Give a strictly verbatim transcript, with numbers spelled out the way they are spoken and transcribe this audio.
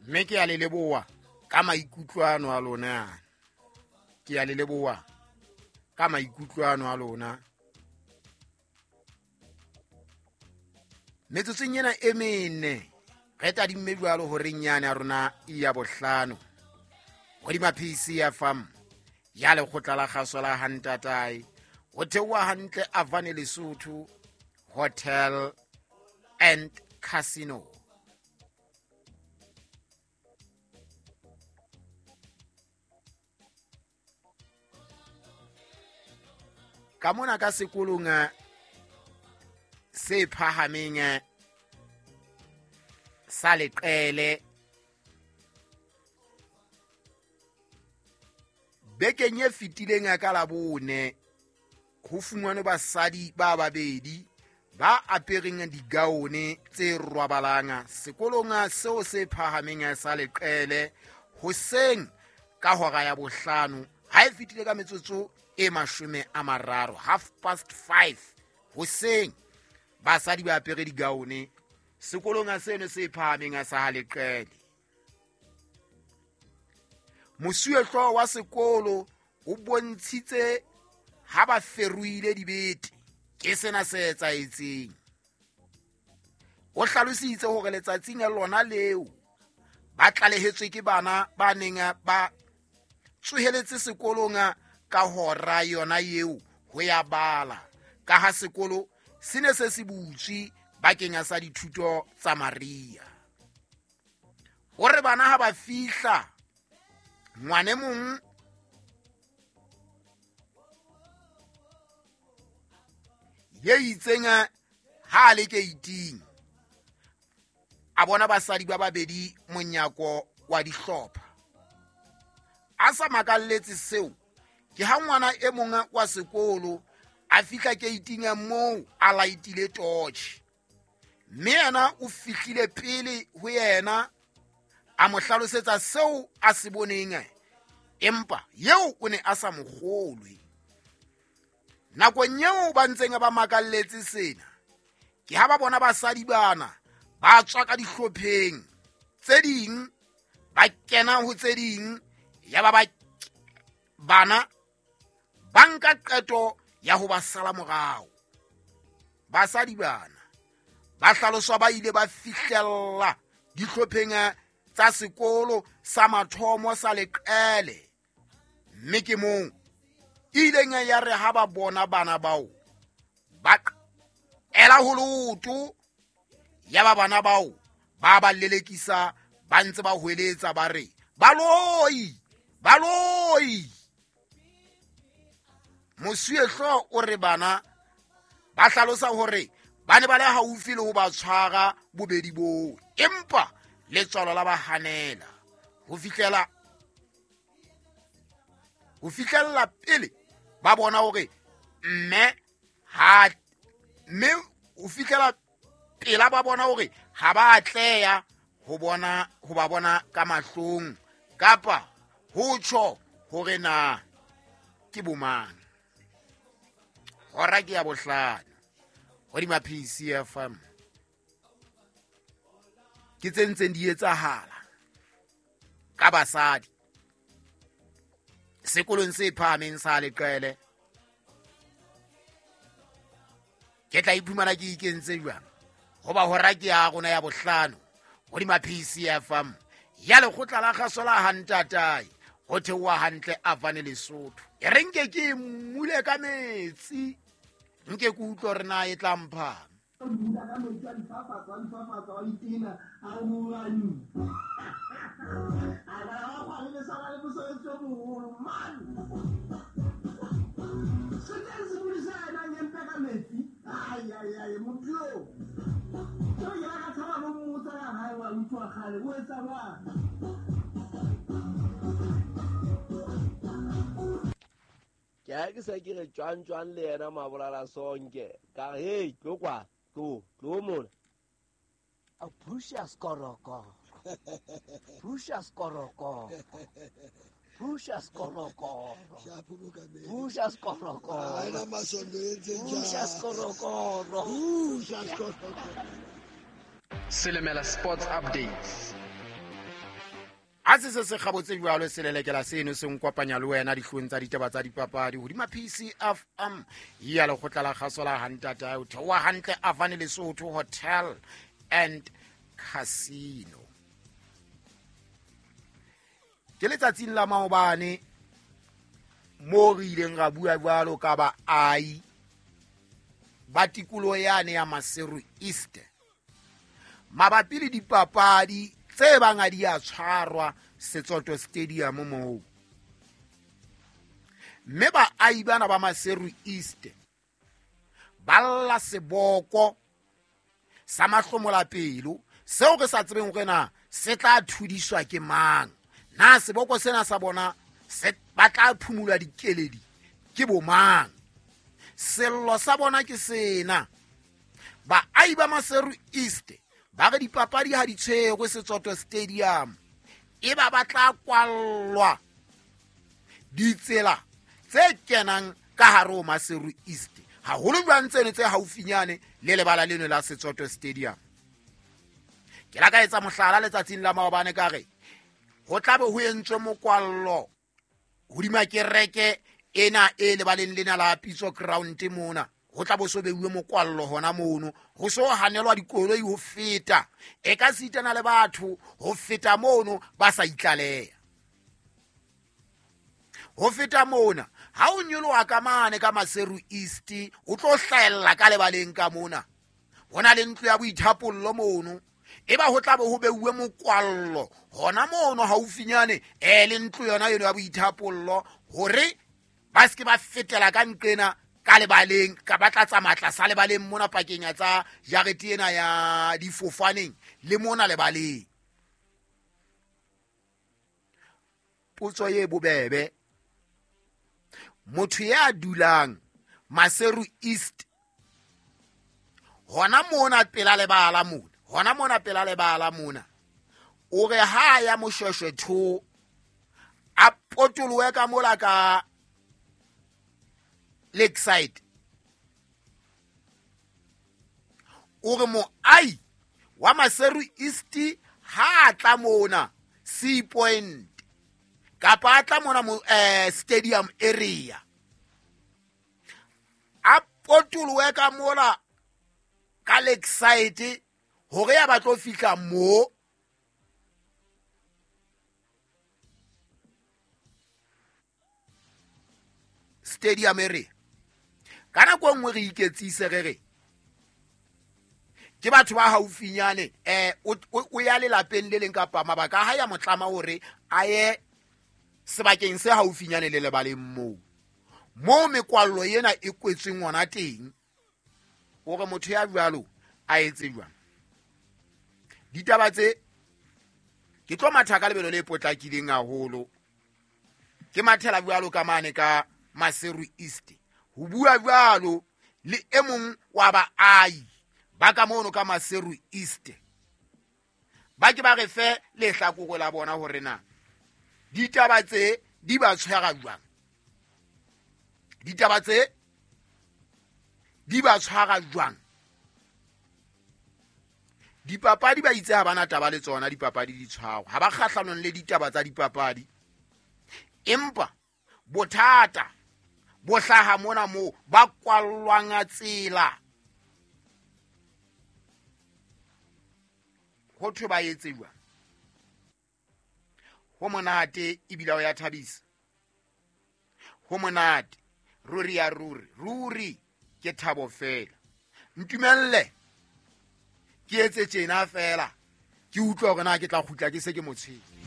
Mme ke a le leboha ka maikutlo ano a lona. Ke a le leboha ka maikutlo ano a lona. Metsotsong ena e mene re tadimme jwalo horeng yane ya rona ya bohlano. Hodima P C F M ya lekgotla la kgaso la Hantatae, ho theoha hantle Avane Lesotho Hotel and Casino. Ka mona ka sekolong se phahameng sa Leqele, bekeng e fetileng ka Labone, ho fumanwe basadi ba babedi ba apereng digaone tse rwabalang sekolong seo se phahameng sa Leqele hoseng ka hora ya bohlano ha e fetile ka metsotso e mashome a mararo, half past five hoseng, basadi ba apere digaone sekolong seno se phahameng sa Leqele. Mosuwehlooho wa sekolo o bontshitse ha ba feruile dibete ke sena se etsahetseng. O hlalositse hore letsatsing lona leo ba tlalehetswe ke bana ba neng ba tsoheletse sekolong ka hora yona eo ho ya bala, ka ha sekolo se ne se se butswe bakeng sa dithuto tsa Maria. O re bana ha ba fihla, ngwane mong ye itseng ha a le keiting, a bona basadi ba babedi monyako wa dihlopha. A sa makalletse seo, ke ha ngwana e mong wa sekolo a fihla keiting moo a laitile torch, mme yena o fihlile pele ho yena, a mo hlalosetsa seo a se boneng, empa eo o ne a sa mo kgolwe. Nakong eo ba ntseng ba makalletse sena, ke ha ba bona basadi bana ba tswa ka dihlopheng tse ding, ba kena ho tse ding, ya ba ba bana ba nka qeto ya ho ba sala morao. Basadi bana ba hlaloswa ba ile ba fihlella dihlopheng tsa sekolo sa mathomo sa Leqele, mme ke mong ileng ya re ha ba bona bana bao ba ela ho lotho, ya ba bana bao ba ba lelekisa ba ntse ba hweletsa ba re baloi, baloi. Mosuwehlooho o re bana ba hlalosa hore ba ne ba le haufi le ho ba tshwara bobedi boo, empa letswalo la ba hanela ho fihlela ho fihlella pele ba bona hore mme ha mme ho fihlela pela ba bona hore ha ba atleha ho bona ho ba bona ka mahlong kapa ho tjho hore na ke bomang. Hora ke ya bohlano hodima P C F M. Ke tse ntseng di etsahala ka basadi sekolong se phahameng sa Leqele. Ke tla iphumana ke ikentse jwang hoba hora ke ya rona ya bohlano hodima P C F M ya lekgotla la kgaso la Hantatae, ho theoha hantle Avane Lesotho. E re nke ke mmule ka metsi, nke ke utlwe hore na e tla mphang. Ke ha ke se ke re tjwang tjwang le yena Mabolala Sonke ka re hey tlo kwa tlo tlo mona. A pusha skoroko, pusha skoroko, pusha skoroko, pusha skoroko, pusha skoroko, pusha skoroko. Silimela Sports Updates. Ha se se se kgabotse jwalo selelekela seno se nkopanya le wena dihlong tsa ditaba tsa dipapadi hodima P C F M ya lekgotla la kgaso la Hantata o theoha hantle Avane Lesotho Hotel and Casino. Ke letsatsing la maobane mo re ileng ra bua jwalo ka baahi ba tikoloho yane ya Maseru East mabapi le dipapadi tse bang a di a tshwarwa Setsoto Stadium moo. Mme baahi bana ba Maseru East ba lla seboko sa mahlomola pelo seo re sa tsebeng hore na se tla thudiswa ke mang. Na seboko sena sa bona se ba tla phumulwa dikeledi ke bo mang? Sello sa bona ke sena. Baahi ba Maseru East ba re dipapadi ha di tshwerwe Setsoto Stadium e ba ba tla kwallwa ditsela tse kenang ka hare ho Maseru East haholo jwang tseno tse haufinyane le lebala leno la Setsoto Stadium. Ke la ka etsa mohlala letsatsing la maobane ka re ho tla be ho entswe mokwallo hodima kereke ena e lebaleng lena la Pitso Ground mona. Ho tla bo so beuwe mokwallo hona mono, ho so hanelwa dikoloi ho feta e ka sitana le batho ho feta mono ba sa itlaleha. Ho feta mona ha o nyoloha ka mane ka Maseru East o tlo hlahella ka lebaleng ka mona, hona le ntlo ya boithapollo mono e ba ho tla be ho beuwe mokwallo hona mono haufinyane e le ntlo yona eno ya boithapollo hore ba se ke ba fetela ka nqena ka lebaleng ka ba tla tsamaya tlasa lebaleng mona pakeng ya tsa jarete ena ya difofaneng le mona lebaleng. Potso e bobebe, motho ya dulang Maseru East hona mona pela lebala mona hona mona pela lebala mona o re ha ya Moshweshwe two a potolowe ka mola ka Lakeside, o re moai wa Maseru East ha tla mona Sea Point kapa a tla mona mo eh, stadium area a potolowe ka mola ka Lakeside hore ya batlo fihla mo stadium area. Ka nako e nngwe re iketsise re re ke batho ba haufinyane eh o ya lelapeng le leng kapa mabaka a hae a motlama hore a ye sebakeng se haufinyane le lebaleng moo moo mekwallo ena e kwetsweng hona teng, hore motho ya jwalo a etse jwang. Ditaba tse ke tlo matha ka lebelo le potlakileng haholo, ke mathela jwalo ka mane ka Maseru East ho bua jwalo le e mong wa baahi ba ka mono ka Maseru East ba ke ba re fe lehlakore la bona hore na ditaba tse di ba tshwara jwang, ditaba tse di ba tshwara jwang. Dipapadi ba itse ha bana taba le tsona, dipapadi di tshwarwa ha ba kgahlanong le ditaba tsa dipapadi, empa bothata bo hlaha mona moo ba kwallwang tsela ho thwe ba etse jwang. Ho monate ebile ho ya thabisa, ho monate ruri ya ruri ruri ke thabo fela. Ntumelle ke etse tjena fela ke utlwa hore na ke tla kgutla ke se ke motshwere.